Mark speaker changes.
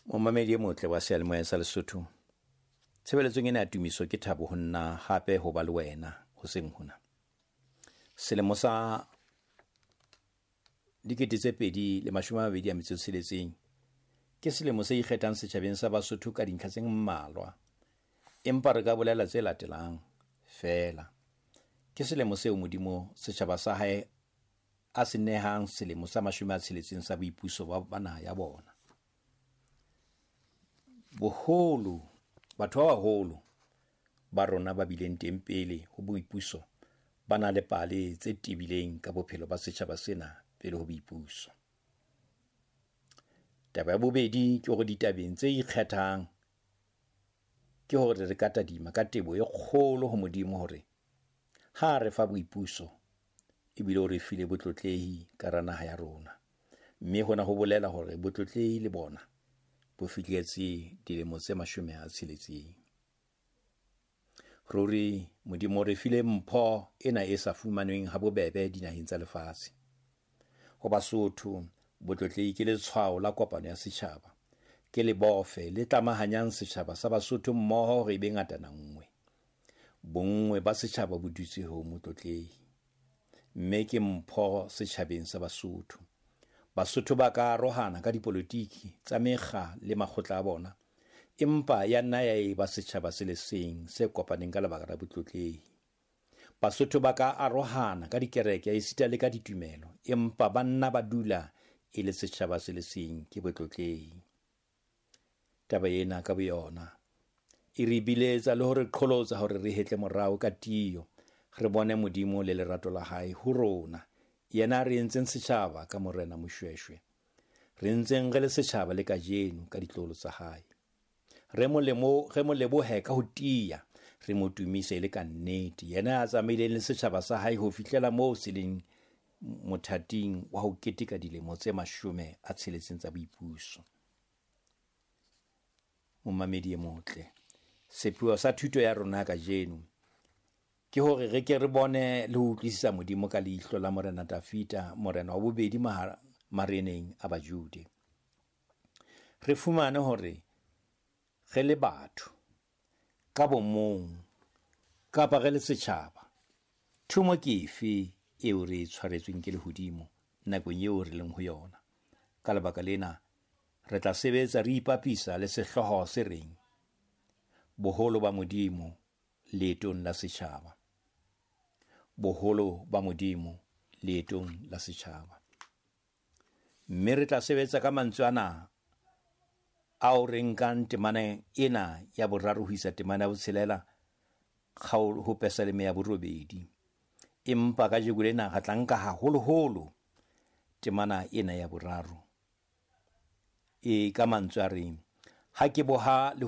Speaker 1: Momamedi e motle wa seyalemoya sa Lesotho, tshebeletsong ena ya tumiso ke thabo ho nna hape ho ba le wena hoseng hona. Selemo sa 2026 ke selemo se ikgethang setjhabeng sa Basotho ka dintlha tse mmalwa, empa re ka bolela tse latelang feela. Ke selemo seo Modimo setjhaba sa hae a se nehang selemo sa 60 sa boipuso ba naha ya bona. Boholo, batho ba baholo ba rona ba bileng teng pele ho boipuso ba na le pale tse tebileng ka bophelo ba setjhaba sena pele ho boipuso. Taba ya bobedi ke hore ditabeng tse ikgethang ke hore re ka tadima ka tebo e kgolo ho Modimo hore ha re fa boipuso ebile o re file botlotlehi ka hara naha ya rona. Mme hona ho bolela hore botlotlehi le bona bo fihletse dilemo tse 60. Ruri Modimo o re file mpho ena e sa fumanweng ha bobebe dinaheng tsa lefatshe. Ho Basotho, botlotlehi ke letshwao la kopano ya setjhaba. Ke lebofe le tlamahanyang setjhaba sa Basotho mmoho hore e be ngatana nngwe. Bonngwe ba setjhaba bo dutse ho motlotlehi. Mme ke mpho setjhabeng sa Basotho. Basotho ba ka arohana ka dipolotiki tsa mekga le makgotla a bona, empa ya nna ya eba setjhaba se le seng se kopaneng ka lebaka la botlotlehi. Basotho ba ka arohana ka dikereke esita le ka ditumelo, empa ba nna ba dula e le setjhaba se le seng ke botlotlehi. Taba ena ka boyona e re biletsa le hore qholotsa hore re hetle morao ka tiyo, re bone Modimo le lerato la hae ho rona, yena re entseng setjhaba ka Morena Moshoeshoe, re ntseng re le setjhaba le kajeno ka ditlolo tsa hae. Re mo lebohe ka ho tiya, re mo tumise le ka nnete, yena a tsamaileng le setjhaba sa hae ho fihlela moo se leng mothating wa ho keteka dilemo tse 60 tsa boipuso. Momamedi e motle, sepheo sa thuto ya rona kajeno ke hore re ke re bone le ho utlwisisa Modimo ka leihlo la Morena Dafida, morena wa bobedi mareneng a Bajude. Re fumane hore re le batho ka bomong kapa re le setjhaba, thomo ke efe eo re e tshwaretsweng ke lehodimo nakong eo re leng ho yona. Ka lebaka lena re tla sebetsa re ipapisa le sehlooho se reng boholo ba Modimo leetong la setjhaba. Boholo ba Modimo leetong la setjhaba. Mme re tla sebetsa ka mantswe ana ao re nkang temana ena ya 3 ho isa temana ya 6 ho Pesaleme ya 8. Empa kajeno lena re tla nka haholoholo temana ena ya 3 e ka mantswe a reng ha ke boha le